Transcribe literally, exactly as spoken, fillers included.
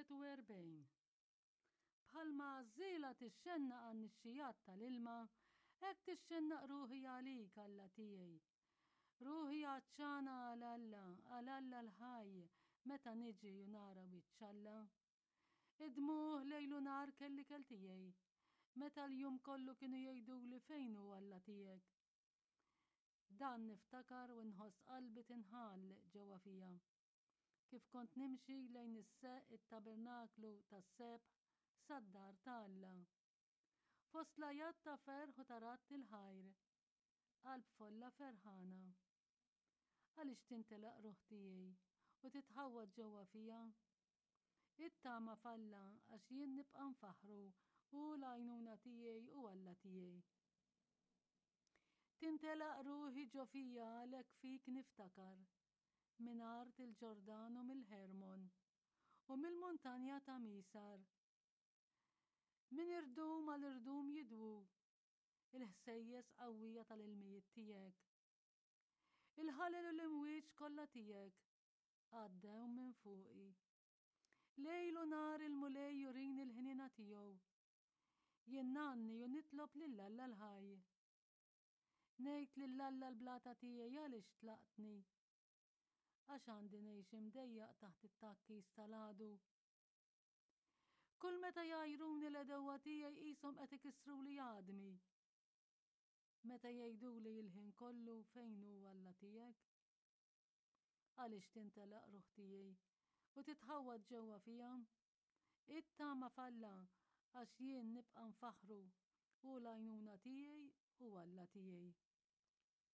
wieħed u erbgħin Bħalma għażżiela tixxennaq għan-nixxigħat tal-ilma, hekk tixxennaq ruħi għalik, Alla tiegħi. Ruħi għatxana għal Alla, għal Alla l-ħaj, meta niġi u nara wiċċ Alla. Id-dmugħ lejl u nhar kelli ikel tiegħi, meta l-jum kollu kienu jgħiduli fejn hu Alla tiegħek. Dan niftakar u nħoss qalbi tinħall ġewwa fija. Kif kont nimxi lejn it-tabernaklu tas-sebħ sad-dar ta' Alla. Fost l-għajat ta' ferħ u ta' radd il-ħajr, qalb folla ferħana. Għaliex tintelaq ruħ tiegħi u titħawwad ġewwa fija? Ittama f'Alla għax jien nibqa' nfaħħru hu l-għajnuna tiegħi u Alla tiegħi. Tintelaq ruħi ġo fija għalhekk fik niftakar, minn art il-Ġordan u mill-Ħermon u mill-muntanja ta' Misar. Minn irdum għal irdum jidwu il-ħsejjes qawwija tal-ilmijiet tiegħek. Il-ħalel u l-imwieġ kollha tiegħek għaddew minn fuqi. Lejl u nhar il-Mulej jurini l-ħniena tiegħu. Jien ngħanni u nitlob lil Alla l-ħaj. Ngħid lil Alla l-blata tiegħi għaliex tlaqtni. Għax għandi ngħix imdejjaq taħt it-tgħakkis tal-għadu. Kull meta jgħajruni l-għedewwa tiegħi qishom qed ikissruli għadmi. Meta jgħiduli l-ħin kollu fejn hu Alla tiegħek? Għaliex tintelaq ruħ tiegħi u titħawwad ġewwa fija? Ittama f'Alla għax jien nibqa' nfaħħru hu l-għajnuna tiegħi u Alla tiegħi.